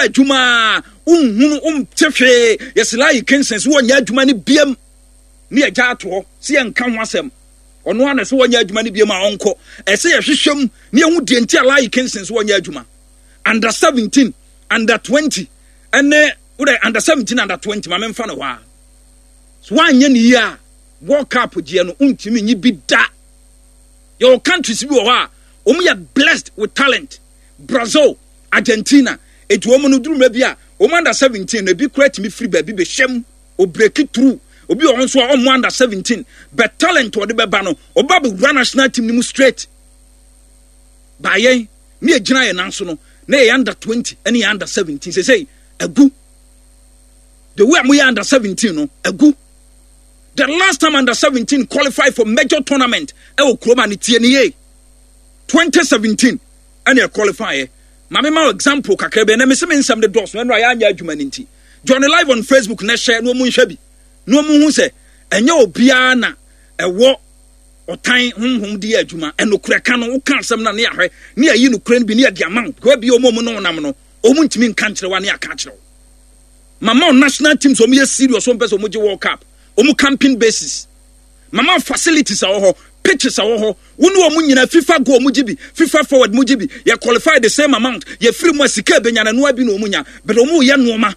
Wobɔ adwuma a, wonhunu, wonte hwee. Yɛse Layi Kingston sɛ wɔnyɛ adwuma no biam ne yɛgya ato hɔ sɛ yɛnka ho asɛm. Ɔno ara na sɛ wɔnyɛ adwuma no biam a ɔnkɔ. Ɛsɛ yɛhwehwɛ mu ne yɛhu deɛ nti a Layi Kingston sɛ wɔnyɛ adwuma. Under 17, under 20, ɛne wodɛ under 17, under 20 ma memfa no hɔ a. So woanyɛ ne yie a, World Cup gyeɛ no wontumi nyi bi da. Yɛwɔ countries bi wɔ hɔ a wɔn yɛ blessed with talent. Brazil, Argentina, eti wɔn no duru mmerɛ bi a wɔn under 17 no ebi koraa tumi firi baabi bɛhyɛ mu, o break through. Obi wɔ hɔ nso a ɔmmɔ under 17 but talent ɔde bɛba no ɔba bɛwura national team no mu straight. Ba yɛn ne yɛgyina yɛn nan so no na yɛyɛ under 20 ne yɛ under 17 sesei agu. The way a moyɛ under 17 no agu. The last time under 17 qualify for major tournament ɛwɔ kurom a ne tie ne yie 2017 ɛna ɛqualify yɛ. Maame ma example kakra bi ɛnna mesi me nsɛm de dɔɔso ɛnna ayɛ anyɛ adwuma ne nti. Join live on Facebook na hyɛ na wɔn nhwɛ bi na wɔn hu sɛ ɛnyɛ obiara na ɛwɔ ɔtan honhom de yɛ adwuma. Ɛnokorɛ ka no woka asɛm na ne ahwɛ ne ayi nokorɛ no bi ne yɛde ama wo because bi wɔn a wɔn ne wɔn nam no wɔn ntumi nka nkyerɛ wa ne aka akyerɛ wo. Mama wo national teams wɔn yɛ serious wɔn pɛ sɛ wɔn gye World Cup wɔn camping bases. Mama wo facilities a wɔ hɔ, pitches a wɔ hɔ. Wo ne wɔn nyinaa FIFA goal mo gye bi, FIFA forward mo gye bi. Yɛ qualify the same amount. Yɛ firi mu a sika ebenya na noa bi na wɔn nya. But wɔn yɛ nneɛma.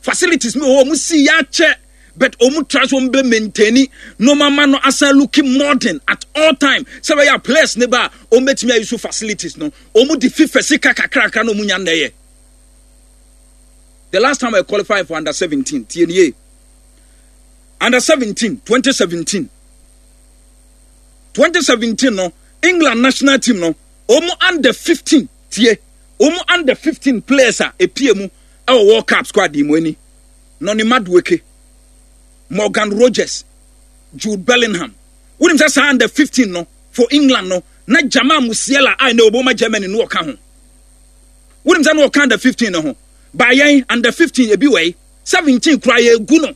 Facilities mi wɔ hɔ wɔn si yɛ akyɛ. But wɔn try so wɔn bɛ maintain nneɛma ma no asan looking modern at all time. Sɛ bɛyɛ a players ne ba a wɔn bɛtumi ayi so facilities no. Wɔn de FIFA sika kakrakra na wɔn nya nnɛ yɛ. The last time I qualified for under 17, tie nie. Under 17, 2017. 2017 no, England national team no, wɔn under 15 tie, wɔn under 15 players a epie mu ɛwɔ World Cup squad yi mu ani. Noni Madueke, Morgan Rogers, Jude Bellingham. Wonim sɛ saa under 15 no for England no, na Jamal Musiala a ɛnɛ ɔbɔ ma Germany no ɔka ho. Wonim sɛ na ɔka under 15 no ho. Ba yɛn under 15 ebi wɔ yi, 17 koraa yɛgu no.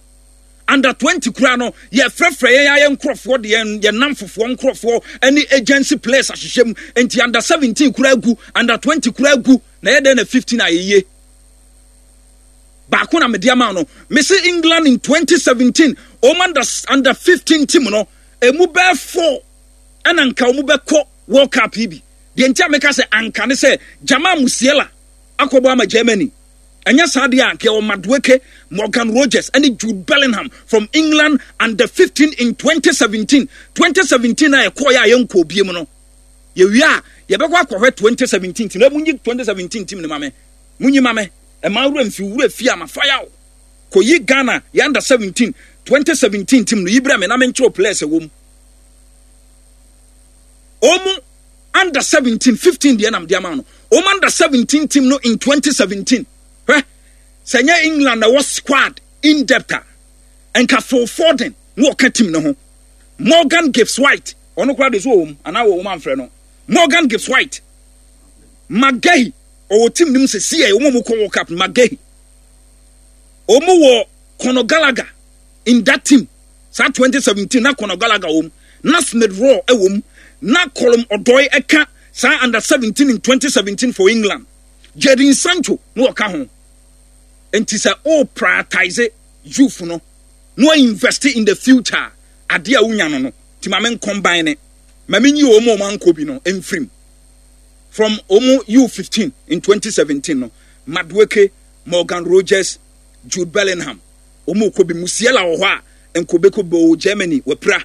Under 20 koraa no, yɛfrɛfrɛ yɛn ayɛ nkurɔfoɔ de yɛn yɛn namfofoɔ nkurɔfoɔ ne agency players ahyehyɛ mu. Nti under 17 koraa gu, under 20 koraa gu, na yɛ dɛn na 15 ayɛ yie. Baako na mede ama no. Mese England in 2017, wɔn under 15 team no, emu bɛɛ four ɛna nka wɔn bɛkɔ World Cup yi bi. Deɛ nti a meka sɛ anka ne sɛ Jamal Musiala akɔbɔ ama Germany. Ɛnyɛ saa deɛ a anka yɛwɔ Madueke, Morgan Rogers ne Jude Bellingham from England under 15 in 2017. 2017 a yɛkɔɔeɛ a yɛnkɔɔ biem no. Yɛwie a yɛbɛkɔ akɔhwɛ 2017 team. Na munyi 2017 team no ma me. Munyi ma me. Ɛma wura mfi wura fi a mafa yaw. Kɔyi Ghana yɛ under 17 2017 team no yi brɛ me na menkyerɛw players ɛwɔ mu. Wɔn under 17 15 deɛ nam de ama no wɔn under 17 team no in 2017 hwɛ sɛ nyɛ England na ɛwɔ squad in depth a nka Phil Foden na ɔka team no ho Morgan Gibbs White ɔno koraa de so wɔ wɔn anaa wɔ wɔn amfrɛ no Morgan Gibbs White Magahi ɔwɔ team no mu sɛ si yɛ wɔn a wɔkɔ World Cup Magahi wɔn wɔ Conor Gallagher in that team Saa 2017 na Conor Gallagher wɔ mu, na Smith Rowe wɔ mu, na Callum Odoi ka saa under 17 in 2017 for England. Jadon Sancho na ɔka ho. Nti sɛ o prioritize youth no na o invest in the future a, adeɛ a wonya no no, nti ma me ncombine ne, ma me nyi wɔn a wɔn ankɔ bi no mfirim. From wɔn U15 in 2017 no, Madueke, Morgan Rogers, Jude Bellingham, Wɔn kɔ bi. Musiala wɔ hɔ a nka ɔbɛkɔ bi. Ɔwɔ Germany, wapira.